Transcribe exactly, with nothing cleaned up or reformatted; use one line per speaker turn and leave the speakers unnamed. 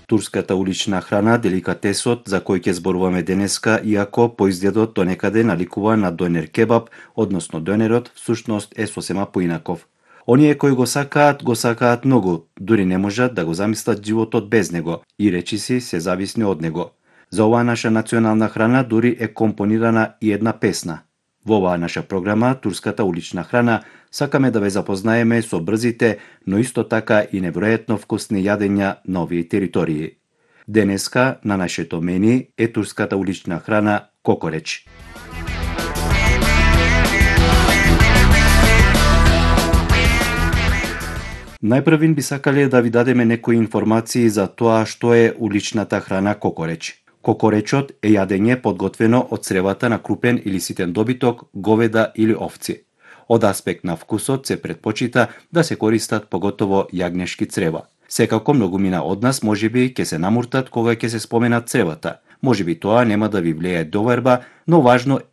Турската улична храна, деликатесот за кој ќе зборуваме денеска, иако по изгледот до некаде наликува на донер кебаб, односно донерот всушност е сосема поинаков. Оние кои го сакаат, го сакаат многу, дури не можат да го замислат животот без него и речиси се зависни од него. За оваа наша национална храна дури е компонирана и една песна. Во оваа наша програма, Турската улична храна, сакаме да ве запознаеме со брзите, но исто така и неверојатно вкусни јадења на овие територии. Денеска на нашето мени е турската улична храна кокореч. Најпрвин би сакале да ви дадеме некои информации за тоа што е уличната храна кокореч. Кокоречот е јадење подготвено од цревата на крупен или ситен добиток, говеда или овци. Од аспект на вкусот се предпочита да се користат поготово јагнешки црева. Секако многумина од нас можеби ќе се намуртат кога ќе се споменат цревата. Можеби тоа нема да ви влијае доверба, но важно е